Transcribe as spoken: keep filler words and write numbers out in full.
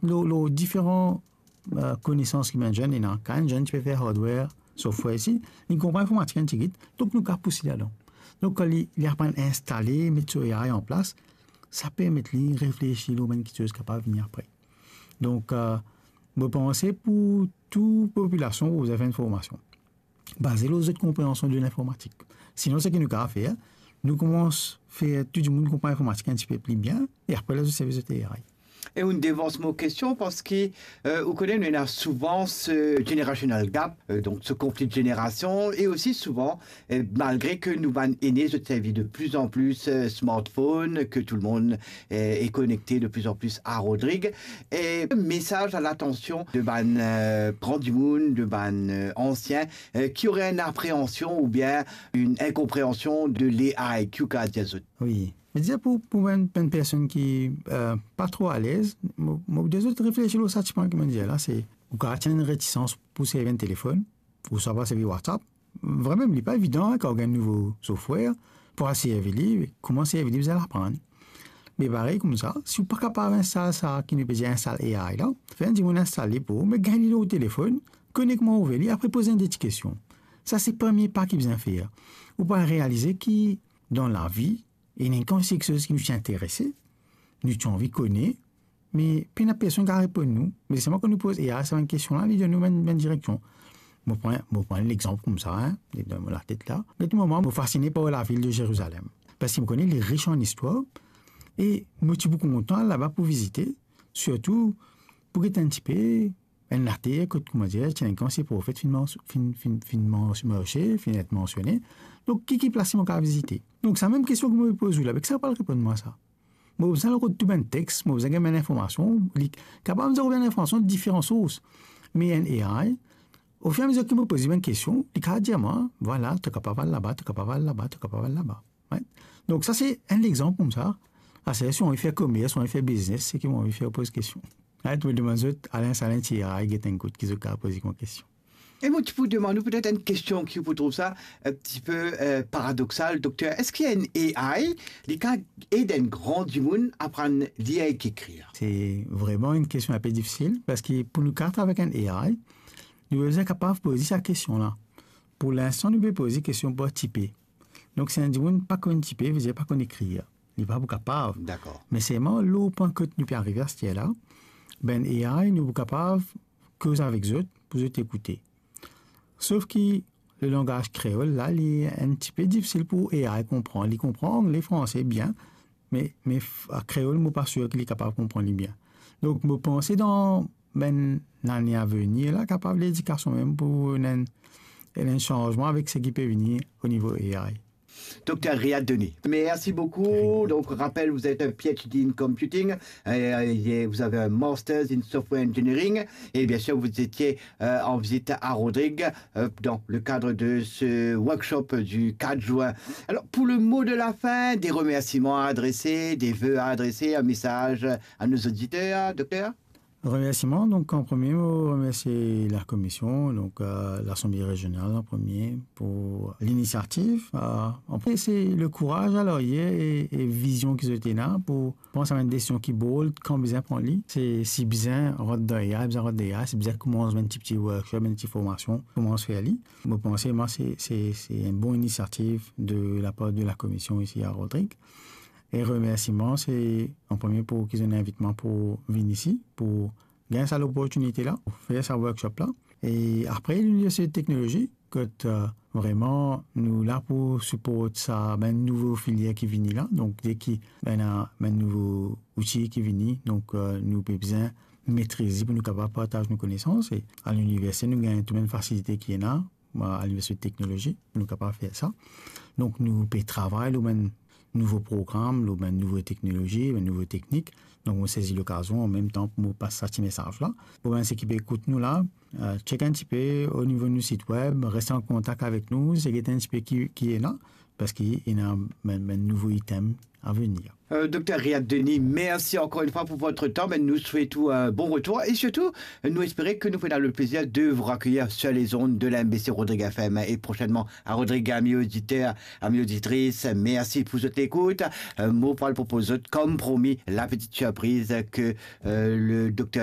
lor, lor diferan, eh, konesans ki bann zenn ena. Kan enn zenn ti pe fer hardware, software isi, li konpran informatik enn tigit, donk nou kapav pous li ladan. Donk, kan li, li aprann instale, met so A I an plas, sa permet li reflesi lor bann kiksoz kapav vini apre. Donk, eh, mo panse pou tou popilasion, pou zot fer enn formasion baze lor zot konpreansion de linformatik. Sinon, seki nou kapav fer, nou koumans fer tou dimoun konpran linformatik enn tipe pli bien, e apre la, zot servi zot A I. E ou devans mo kestion, parski, eh, ou kone, nou ena souvan se generational gap, eh, donk se konfli de zenerasion, e osi souvan, eh, malgre ke nou bann ene, zot servi de plus en plus, eh, smartphone, ke tou lemonn, eh, est connecté de plus en plus à Rodrig, e mesaz a latansion de bann, eh, gran dimoun, de bann, eh, ansien, eh, ki ore enn apreansion oubien enn inkonpreansion de l'A I, ki ou kapav dir zot? Wi. Me dir pou, pou bann, bann personn ki, eh, pa tro alez, mo, mo dir zot reflesi lor sa ti pwin ki mo dir la, se, ou kapav ti ena enn retisans pou servi enn telefonn, ouswa pa servi WhatsApp. Vremem, li pa evidan, kan ou gagn nouvo software, pou al servi li, kouma servi li, bizin aprann. Me parey koumsa, si ou pa kapav instal sa ki nou pe dir instal A I la, fer enn dimoun instal li pou ou, me gagn li lor telefonn, konek kouma ouver li, apre poz enn de ti kestion. Sa se premie pa ki bizin fer. Ou pou realize ki dan lavi, ena enn kantite kiksoz ki nou ti interese, nou ti anvi kone, me pena personn kapav reponn nou. Me selman kan nou poz A I sa bann kestion la, li donn nou bann, bann direksion. Mo pran, mo pran lexanp koumsa, hein, li dan mo latet la. Get moman, mo fasine par lavil de Zerizalem. Parski mo kone li ris an istwar, e mo ti pou kontan al laba pou vizite, sirtou pou get enn tipe enn later kot, kouma dir, ti ena enn kantite profet finn mans-, finn, finn, finn mans-, marse, finn et mansione. Donk, ki, ki plas mo kapav vizite? Donk, sa mem kestion ki mo pe poz ou la, be ki sa ou pou al reponn mwa sa? Mo bizin al rod tou bann text, mo bizin gagn bann linformasion, li kapav dir bann linformasion de diferan sours. Me enn A I, ofiramezir ki mo poz li bann kestion, li kapav dir mwa, vwala, to kapav al laba, to kapav al laba, to kapav al laba. Right? Donk, sa se enn lexanp koumsa. Ase, si ou anvi fer komers, ou anvi fer biznes, seki ou anvi fer, poz kestion. Right? Mo demann zot, al instal enn ti A I, get enn kout ki zot kapav poze kouma kestion. E mo ti pou demann ou petet enn kestion ki ou pou trouv sa enn tipe, eh, paradoksal, dokter. Eski enn A I, li kapav ed enn gran dimoun aprann lir ek ekrir? Se vreman enn kestion inpe difisil, parski pou nou kapav travay avek enn A I, nou bizin kapav poze sa kestion la. Pou linstan, nou pe poze kestion par tipe. Donk, si enn dimoun pa konn tipe, vedir pa konn ekrir. Li pa pou kapav. Dakor. Me selman, lor pwin kot nou pe arive aster la, bann A I, nou pou kapav koz avek zot, pou zot ekoute. Sof ki le langaz kreol la, li enn tipe difisil pou A I konpran. Li konpran angle, franse bien, me, me f-, a kreol, mo pa sir ki li kapav konpran li bien. Donk, mo panse dan bann lane avenir la, kapav ledikasion mem pou ena enn, ena enn sanzman avek seki pe vini o nivo A I. Dokter Riad Denis, merci beaucoup. Rien. Donc, rappel, vous êtes un P H D in computing, euh, et vous avez un master's in software engineering, et bien sûr, vous étiez, euh, en visite à Rodrigues, euh, dans le cadre de ce workshop du quatre juin. Alors, pour le mot de la fin, des remerciements à adresser, des vœux à adresser, un message à nos auditeurs, docteur ? Remersiman, donk, an premie, mo remersie lakomision, donk, euh, Lasanble Rezional an premie pou linisiativ. Euh, an premie, se le kouraz a laryer e, e vizion ki zot ena pou pran sa bann desizion ki bold, kan bizin pran li. Se, si bizin rant dan A I, bizin rant dan A I, si bizin koumans bann ti, ti workshop, bann ti formasion, koumans fer li. Mo panse, mwa, se, se, se enn bon inisiativ de lapar de lakomision isi a Rodrigues. E remersiman, se an premie pou ki zot inn invit mwa pou vinn isi, pou gagn sa loportinite la, pou fer sa workshop la. E apre, Liniversite Teknolozi, kot, euh, vreman, nou la pou siport sa, bann nouvo filier ki vini la. Donk, deki ena bann nouvo outi ki vini, donk, euh, nou pe bizin metriz li pou nou kapav partaz nou konesans. E a liniversite, nou gagn tou bann fasilite ki ena, a Liniversite Teknolozi, pou nou kapav fer sa. Donk, nou pe travay lor bann nouvo program, lor bann nouvo teknolozi, bann nouvo teknik. Donk, mo sezi lokazion an mem tan pou mo pas sa ti mesaz la. Pou bann seki pe ekout nou la, euh, check enn tipe o nivo nou sit web, res an kontak avek nou, seki enn tipe ki, ki ena, parski ena bann, bann nouvo item a venir. Euh, Docteur Riyad Denis, merci encore une fois pour votre temps. Ben, nous souhaitons un bon retour et surtout, nous espérons que nous pouvons avoir le plaisir de vous raccueillir sur les ondes de la M B C Rodrigue F M et prochainement à Rodrigue, amis auditeurs, amis auditrices. Merci pour votre écoute. Euh, mo pral propoz zot, comme promis, la petite surprise que, euh, le docteur